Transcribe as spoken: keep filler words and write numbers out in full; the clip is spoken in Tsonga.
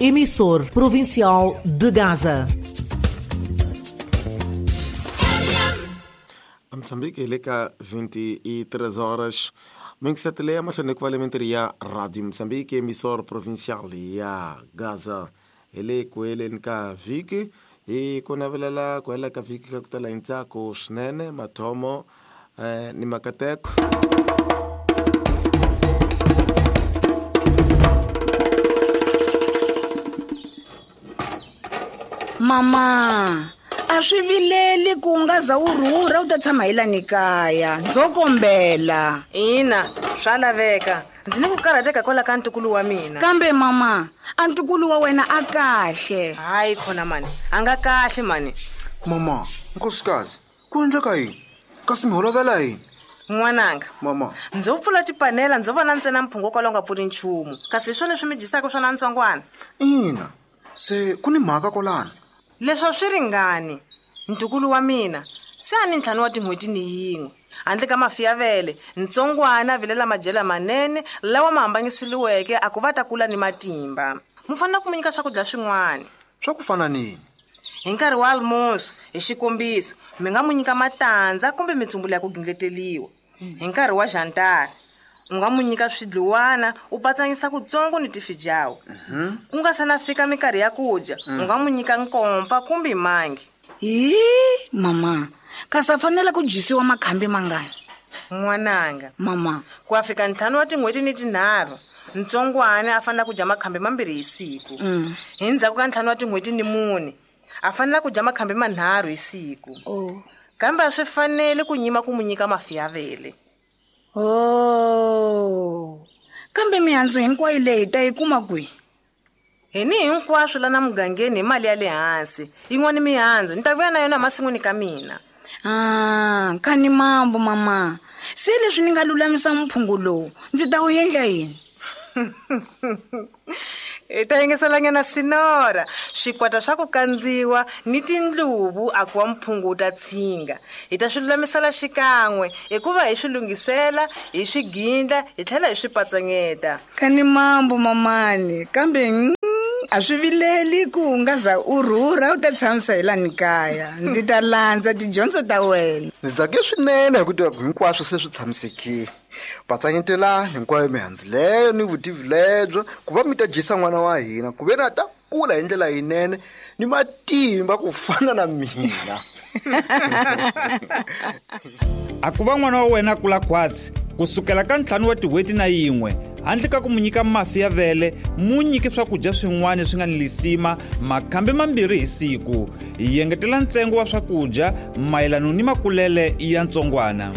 emissor provincial de Gaza. A Moçambique hi le ka vinte e três horas. Mingisetele ya mahlweni ku va le ya Radio Moçambique, emissor provincial ya Gaza. Hi le ku heleni ka vhiki, hi ku navelela ku hela ka vhiki ka ku tala hi ntsako swinene, mathomo eh, ni makateko. Mama, a swi vileli ku nga za wu rhurha u ta tshama hi lani kaya, ndzo kombela. Ina, swa laveka, ndzi ni ku karhateka kwala ka ntukulu wa mina. Kambe mama, a ntukulu wa wena a kahle. Hayi khona mani, a nga kahle mani. Mama, nkosikazi, ku endleka yini? Kasi mi holovela yini? N'wananga. Mama. Ndzo pfula tipanela, ndzo vona ntsena mphungo kwala u nga pfuli nchumu, kasi hi swona leswi mi dyisaka swona ntsongwana. Ina, se ku ni mhaka kwalano. Leswi a swi ringani. Ntukulu wa mina se a ni ntlhanu wa tin'hweti ni yin'we, handle ka mafi ya vele, ntsongwana a vilela madyela manene lawa ma hambanyisiliweke a ku va ta kula ni matimba. Mu fanele ku mu nyika swakudya swin'wana. Swa ku fana nini? Hi nkarhi wa almoso, hi xikombiso, mi nga mu nyika matandza kumbe mitsumbulo ya ku gingleteliwa. Hi nkarhi wa jantara, u nga mu nyika swidluwana u patsanyisa kutsongo ni tifijawu. Ku nga se na fika minkarhi ya ku dya, u nga mu nyika nkomfa kumbe mangi. Hi mama, kasi a fanele ku dyisiwa makhambi mangani? N'wananga. Mama. Ku ya fika ntlhanu wa tin'hweti ni tinharhu, ntsongwana a fanele ku dya makhambi mambirhi hi siku. Mm. Hi ndzhaku ka ntlhanu wa tin'hweti ni mune, a fanele ku dya makhambi manharhu hi siku. Oh. Kambe a swi fanele ku nyima ku mu nyika mafi ya vele. Oh. Kambe mihandzu hinkwayo leyi ta yi kuma kwihi? Hi ni hinkwaswo lana mugangeni hi mali ya le hansi. Yin'wana mihandzu ni ta vuya na yona emasin'wini ka mina. Ah, khani mambo mama. Se leswi ni nga lulamisa mphungu lowu, ndzi ta wu endla yini? Hi ta yingiselanyana sinora, swikwata swa ku kandziwa ni tindluvu a ku wa mphungu wu ta tshinga. Hi ta swi lulamisela xikan'we hikuva hi swi lunghisela, hi swi gindla, hi tlhela hi swi patsanyeta. Khani mambo mamani, kambe mm, a swi vileli ku u nga za u rhurha u ta tshamisa hi lani kaya. Ndzi ta landza tidyondzo ta wena. Ndzi tsake swinene hi ku tiva ku hinkwaswo se swi tshamisekile. Patsanyetelani hinkwayo mihandzu leyo ni vutivi lebyo ku va mi ta dyisa n'wana wa hina, ku ve na ta kula hi ndlela yinene ni matimba ku fana na mina. A ku va n'wana wa wena a kula khwatsi kusukela ka ntlhanu wa tin'hweti na yin'we, handle ka ku mu nyika mafi ya vele, mu nyike swakudya swin'wana swi nga ni lisima makhambi mambirhi hi siku. Hi engetela ntsengo wa swakudya mayelana ni makulele ya ntsongwana.